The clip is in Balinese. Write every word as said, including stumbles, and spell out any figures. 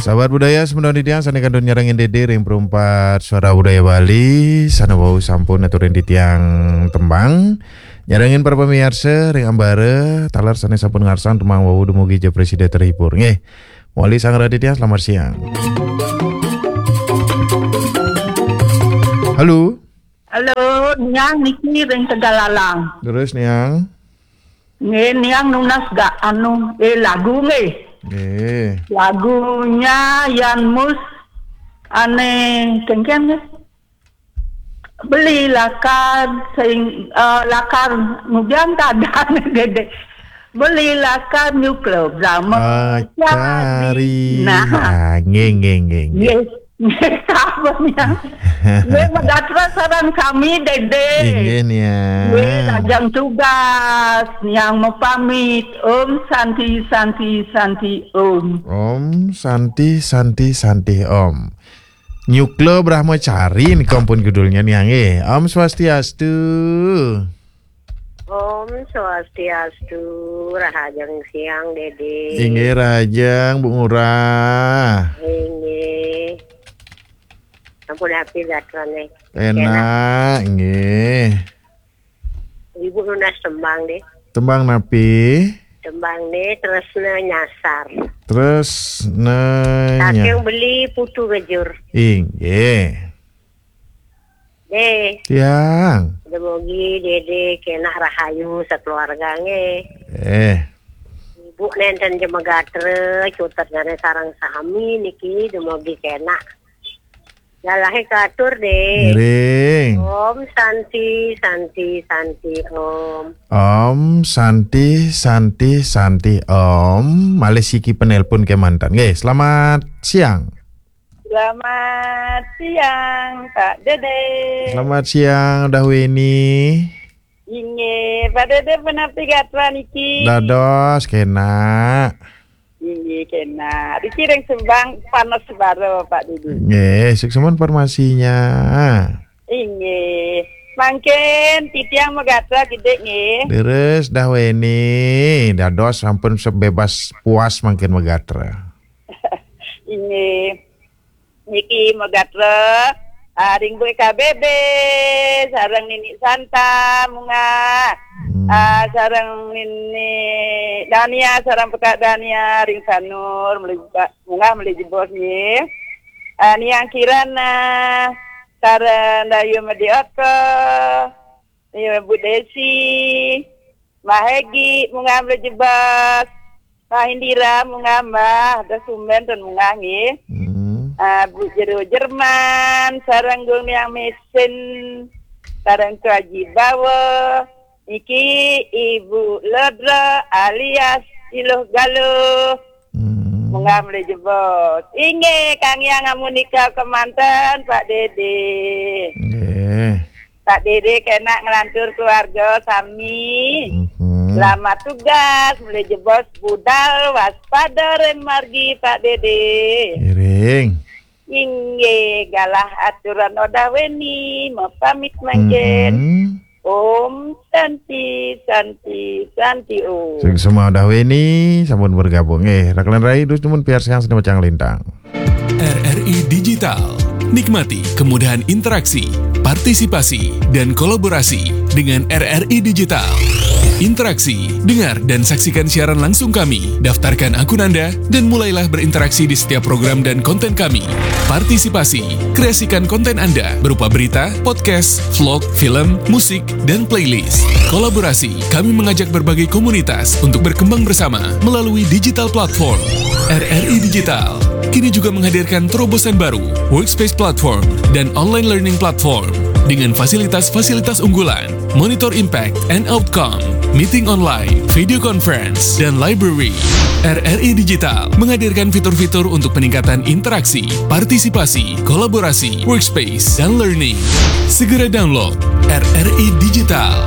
Sahabat budaya, semeton titiang sané kantun nyarengin Dédé ring Perumpat Suara Budaya Bali, sané wau sampun aturin titiang tembang. Nyarengin para pamiarsa ring ambara, taler sané sampun ngarsang tembang wau dumugi ja prasida terhibur. Nggih. Malih sareng titiang, selamat siang. Halo. Halo, Niang niki ring Tegalalang. Terus, Niang? Nggih, Niang nunas ga anu, eh, lagu nggih. Nggih. Lagunya Yan Mus ané kéngkén nggih. Beli lakar sing, eh, lakar ngudiang kadang Dédé. Beli lakar nyuklebrahma. Ah, cari. Nah. Ah, nggih, nggih, nggih, nggih. Nggih. Nggih, sampun ya. Nggih, magatra sareng sami, Dédé. Inggih, Niang. Nggih, lajeng tugas, Niang mapamit. Om Santi, Santi, Santi, Om. Om Santi, Santi, Santi, Om. Nyuklebrahmacari nika ampun judulnya, Niang, nggih. Om Swastiastu. Om Swastiastu, rahajeng siang, Dédé. Inggih, rahajeng, Bu Ngurah. Inggih. Sampun napi gatrané? Enak, nggih. Ibu nunas tembang deh. Tembang napi? Tembang deh, Tresna Nyasar. Tresna Nyasar. Saking Beli Putu Ngejur. Inggih. Deh. Tiang. Dumugi Dédé kénak rahayu sakeluarga nggih. Eh. Ibu nénten ja magatra, cutet gané sareng sami niki dumugi kénak. Galahé katur deh. Ngiring. Om Santi, Santi, Santi, Om. Om Santi, Santi, Santi, Om. Malih siki penelpon kémanten. Nggih, selamat siang. Selamat siang, Pak Dédé. Selamat siang, Udah Weni. Inggih, Pak Dédé punapi gatra niki? Dados, kénak. Inggih, kénak. Niki ring Subang panas sebara, Pak Dédé. Nggih, suksma informasinya. Inggih. Mangkin titiang magatra kidik nggih. Leres, Udah Weni. Dados sampun sebebas puas mangkin magatra. Inggih. Niki magatra, ah, ring Bu K B B, sareng Nini Santa, munggah. Hmm. Ah, sareng Nini Dania, sareng Peka Dania, ring Sanur, malih ba-, munggah malih jebos nggih. Ah, Niang Kirana, sareng Dayu Madiota, Ibu Desi, Mbah Hegi, munggah malih jebos. Mbah Indira, munggah Mbah, Udah Sumben, ten munggah nggih. Hmm. Ah, Bu Jero Jerman, sareng Gung Niang Mesin, sareng Tuaji Bawa, niki Ibu Lodra alias Iluh Galuh. Hmm. Munggah malih jebos. Inggih, Kang Yang amunika kémanten, Pak Dédé. Nggih. Pak Dédé kénak nglantur keluarga sami. Mhm. Selamat tugas, malih jebos budal waspada ring margi, Pak Dédé. Ngiring. Inggih, galah aturan Udah Weni, mapamit mangkin. Mhm. Om Santi, Santi, Santi Om. Suksma Udah Weni, sampun bergabung. Eh, Raklan Rai, dus nemun piar siang sini macang lintang. R R I Digital. Nikmati kemudahan interaksi, partisipasi, dan kolaborasi dengan R R I Digital. Interaksi, dengar dan saksikan siaran langsung kami, daftarkan akun Anda, dan mulailah berinteraksi di setiap program dan konten kami. Partisipasi, kreasikan konten Anda berupa berita, podcast, vlog, film, musik, dan playlist. Kolaborasi, kami mengajak berbagai komunitas untuk berkembang bersama melalui digital platform. R R I Digital kini juga menghadirkan terobosan baru, Workspace Platform dan Online Learning Platform dengan fasilitas-fasilitas unggulan, Monitor Impact and Outcome, Meeting Online, Video Conference, dan Library. R R I Digital menghadirkan fitur-fitur untuk peningkatan interaksi, partisipasi, kolaborasi, workspace, dan learning. Segera download R R I Digital.